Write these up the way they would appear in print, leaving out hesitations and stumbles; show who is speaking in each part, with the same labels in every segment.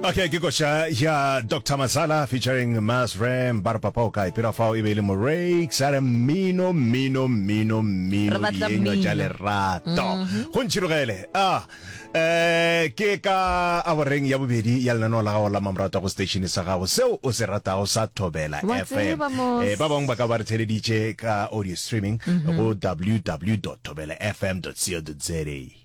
Speaker 1: Okay, ke koša ya Dr. Masala featuring Mas Ram ba re papa o kae pela fao e be e le Morakes a re mmino mmino mmino mmino
Speaker 2: Re batla
Speaker 1: dienywa tša
Speaker 2: mmino.
Speaker 1: lerato go ntšhirogele a eh ke ka aboreng ya bobedi ya lenaneo la gago la mamorata go station sa gago seo o se ratago sa Thobela
Speaker 2: Wa
Speaker 1: FM
Speaker 2: tseba mos.
Speaker 1: eh ba bangwe ba ka ba re theleditše ka audio streaming go www.thobelafm.co.za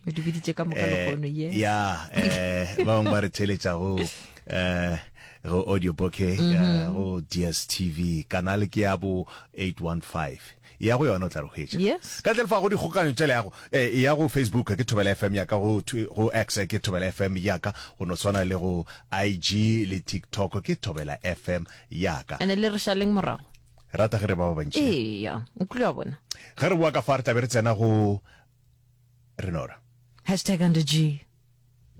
Speaker 2: O di biditše ka moka
Speaker 1: Eh,
Speaker 2: lehono, yes.
Speaker 1: ya eh ba bangwe ba re theletša go eh go audio bouquet
Speaker 2: Mhm.
Speaker 1: eh, go DSTV kanale ke ya bo 815 ya go yona o tla re hwetša
Speaker 2: Yes.
Speaker 1: ka ntle le fa go dikgokanyo tša leago eh, ya go facebook ke thobela fm ya ka go twi- go x ke thobela fm ya ka go no swana le go ig le tiktok ke thobela fm ya ka
Speaker 2: Ene le re šaleng morago.
Speaker 1: rata ge re ba ba bantši
Speaker 2: Eya, o kile wa bona.
Speaker 1: ge re boa ka fa re tla be re tsena go Renora.
Speaker 2: Hashtag under G.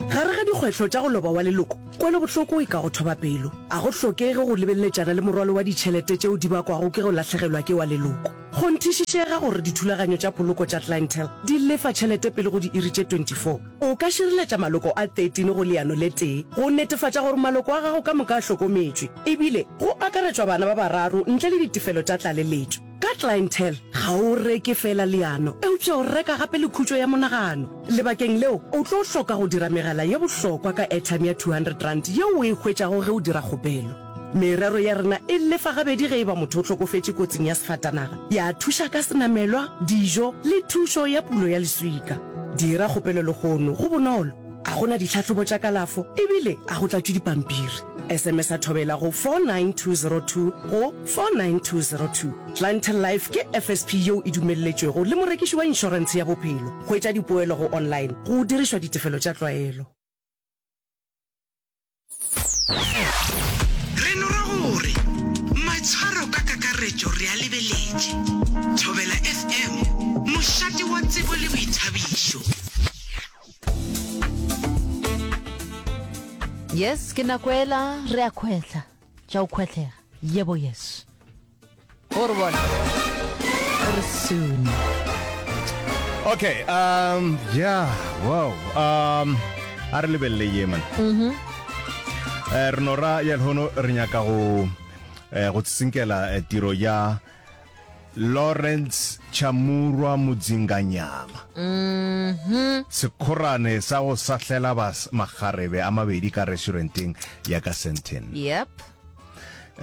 Speaker 3: Gare ga dikgwetlho tša go loba wa leloko, kwelobohloko e ka go thoba pelo. A go hlokege go lebeleletšana le morwalo wa ditšhelete tšeo di bakwago ke go lahlegelwa ke wa leloko. Kgonthišišega gore dithulaganyo tša poloko tša Clientele di lefa tšhelete pele go diiri tše 24. O ka šireletša maloko a 13 go leano le tee go netefatša gore maloko a gago ka moka a hlokometšwe, ebile go akaretšwa bana ba bararo ntle le ditefelo tša tlaleletšo. Ka Clientele, ga o reke feela leano, eupša o reka gape le khutšo ya monagano. Lebakeng leo, o tlo hloka go dira megala ye bohlokwa ka airtime ya R200 yeo o e hwetšago ge o dira kgopelo. Merero ya rena e lefa gabedi ge e ba motho o hlokofetše kotsing ya sefatanaga, ya thuša ka senamelwa, dijo le thušo ya pulo ya leswika. Dira kgopelo lehono, go bonolo, ga go na ditlhahlobo tša kalafo ebile ga go tlatšwe dipampiri. SMS-a Thobela go 49202 go 49202. Clientele Life ke FSP yeo e dumelletšwego le morekiši wa inšorentshe ya bophelo. Hwetša dipoelo go online go dirišwa ditefelo tša tlwaelo.
Speaker 4: Re no ra gore maitshwaro ka kakaretšo re a lebeletše. Thobela FM, mošate wa tsebo le boithabišo.
Speaker 2: Yes, ke nako ela re a khwehla. Tša go khwehlega. Yebo yes. O re bona. O re soon.
Speaker 1: Okay, um yeah, wow. Um a re lebelele ye man. Mhm. Eh re no ra ya lehono re nyaka go eh go tsinkela eh, tiro ya Lawrence Chamurwa Mudzinganyama.
Speaker 2: Mhm.
Speaker 1: Sekhorane sa go sahlela bas makgarebe a mabedi ka restauranteng ya ka Sandton.
Speaker 2: Yep.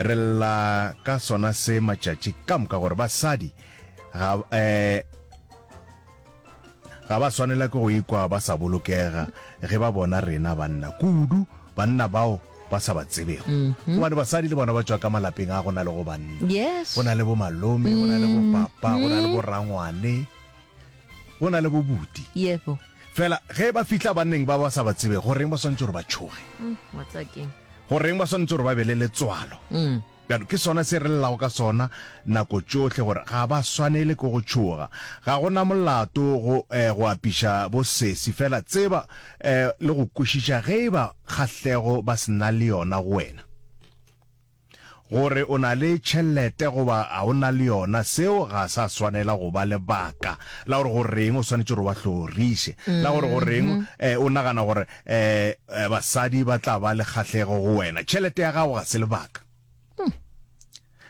Speaker 1: Re lla ka sona se matšatši ka moka gore basadi ga eh Ga ba swanela ke go ikwa ba sa bolokega ge ba bona rena banna, kudu banna bao ba sa ba tsebego. Gobane basadi le bona ba tšwa ka malapeng a go na lego banna.
Speaker 2: Yes.
Speaker 1: Go na le bomalome, go na le bopapa, go na le borangwane, go na le bobuti.
Speaker 2: Yebo.
Speaker 1: Fela ge ba fihla banneng ba ba sa ba tsebego, goreng ba swanetše gore ba tšhoge?
Speaker 2: Wa tseba keng?
Speaker 1: Goreng ba swanetše gore ba be le letswalo? Bjalo ke sona se re llelago ka sona nako tšohle, gore ga ba swanele ke go tšhoga. Ga go na molato go, eh, go apiša bo sesi, fela tseba, eh, le go kwešiša ge e ba kgahlego ba se na le yona go wena. Gore o na le tšhelete goba ga o na le yona, seo ga sa swanela go ba lebaka la gore goreng o swanetše gore o ba hloriše, la gore goreng, eh, o nagana gore, eh, basadi ba tla ba le kgahlego go wena. Tšhelete ya gago ga se lebaka.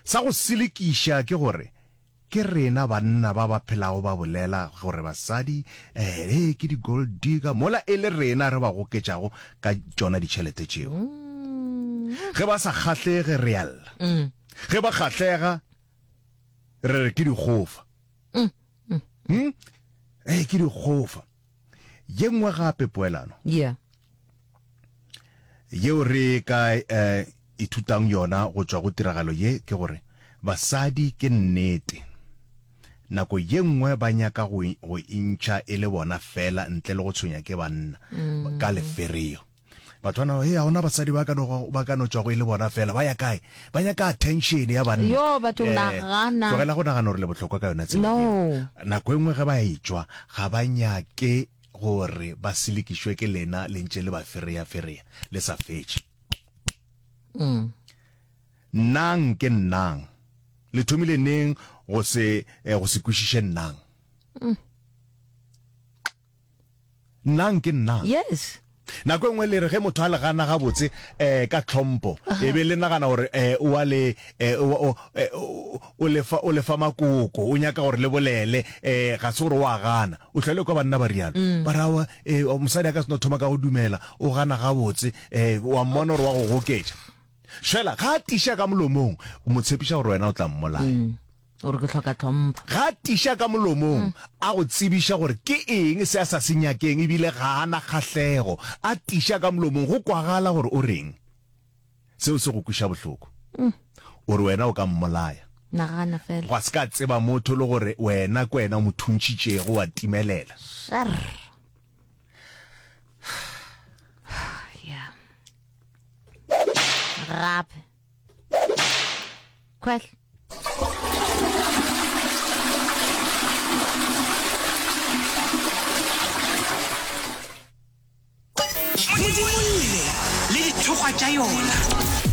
Speaker 1: Sa go selekiša ke gore ke rena banna ba ba phelago ba bolela gore basadi eh, eh, ke di-gold digger, mola e le rena re ba goketšago ka tšona ditšhelete tšeo. Ge ba sa kgahlege re a lla, ge ba kgahlega re re ke dikgofa. Hmm? Eh, ke dikgofa. Ye nngwe gape poelano.
Speaker 2: Yeah.
Speaker 1: Yeo re ka eh, ithutang yona go tšwa go tiragalo ye ke gore basadi ke nnete nako ye nngwe ba nyaka go, go intšha e le bona fela ntle le go tshwenya ke banna mm. ka lefereo. Batho ba hey, ga ona basadi ba ka no ba ka no tšwago e le bona fela ba ya kae ba nyaka attention ya banna
Speaker 2: yo batho eh, nagana
Speaker 1: tlogela go nagana gore le bohlokwa ka yona tsela
Speaker 2: no
Speaker 1: nako e nngwe ge ba etšwa ga ba nyake gore ba selekišwe ke lena le ntše le ba fereya fereya le sa fetše
Speaker 2: mm.
Speaker 1: nnang ke nnang le thomile neng go se eh, go se kwešiše nnang
Speaker 2: mm.
Speaker 1: nnang ke nnang
Speaker 2: yes.
Speaker 1: Nako e nngwe le re ge motho a le gana gabotse um ka tlhompho, e be le nagana gore um o a le um o le fa o le fa makoko, o nyaka gore le bolele, um ga se gore o a gana. O hlwa le kwa banna ba rialo. Ba re aowa, um mosadi a ka se no thoma ka go dumela, o gana gabotse, um wa mmona gore wa go goketša. Fela ga a tiša ka molomong, o mo tshepiša gore wena o tla mmolaya.
Speaker 2: O re ke hloka tlhompho.
Speaker 1: Ga a tiša ka molomong a go tsebiša gore ke eng se a sa se nyakeng ebile ga a na kgahlego. A tiša ka molomong go kwagala gore o reng. Seo se go kweša bohloko. O re wena o ka mmolaya.
Speaker 2: Nagana fela.
Speaker 1: Gwa se ka tseba motho le gore wena ke wena o mo thuntšhitšego wa timelela.
Speaker 2: Sharr. Yeah. Gape. Khwehla.
Speaker 4: Modimolle le dithokgwa tša yona.